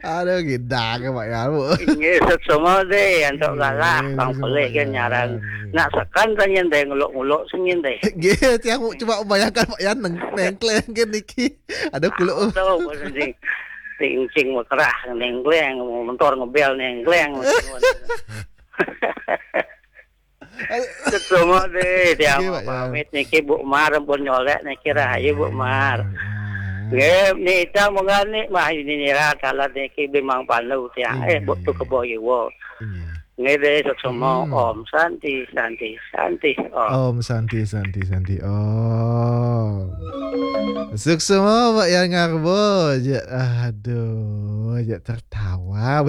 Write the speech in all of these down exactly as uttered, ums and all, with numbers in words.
Aduh, gidang ke Pak Yan, Bu. Nggih, suksma deh, antuk galah, Nggih, bang suksma, pelih Pak kan Yan. Nyarang. Nggih. Nak sekan tanya deh, nguluk-nguluk sengin deh. Nggih, tiang cuma bayangkan Pak Yan neng-, nengkleng ke niki. Ada kuluk. Tahu, tahu, sing, sing, sing mekerah, nengkleng, motor ngebel, nengkleng. Suksma deh, tiang Nggih, Pak Yan. Pamit niki Bu Mar, ampun nyolek niki rahayu Bu Mar. Nggih, nita mengani mah ini nira kalah niki bimang pandu tiang. Eh, Bu tu kebo iwo. Nggih. Nggih deh, suksma. Hmm. Om Santi, Santi, Santi, Om. Om Santi, Santi, Santi, Om. Suksma, Pak Yan Ngarbo. Ja, aduh, ja tertawa.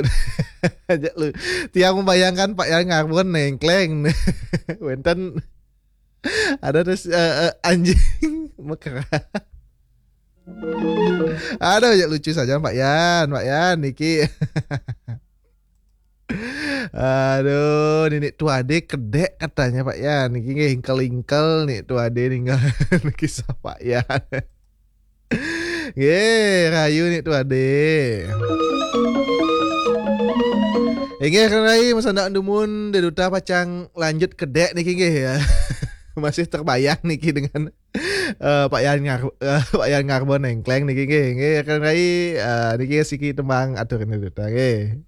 Ja lu, tiang membayangkan Pak Yan Ngarbo nengkleng. Wenten ada terus, eh, eh, anjing mekerah. Aduh, ja lucu saja Pak Yan, Pak Yan, niki. Aduh, nenek tua deh kedek katanya Pak Yan. Niki nggih ingkel-ingkel nih tua deh ninggal kisah Pak Yan. Nggih, rahayu nih tua deh. Inggih, kan rai, masa ndak dumun, Dé Duta pacang lanjut kedek niki nggih ya. Masih terbayang niki dengan, eh, Pak Yan Ngar-, eh, Pak Yan Ngarbo nengkleng niki nggih. Nggih, kan rai, eh, niki siki tembang atur Dé Duta nggih.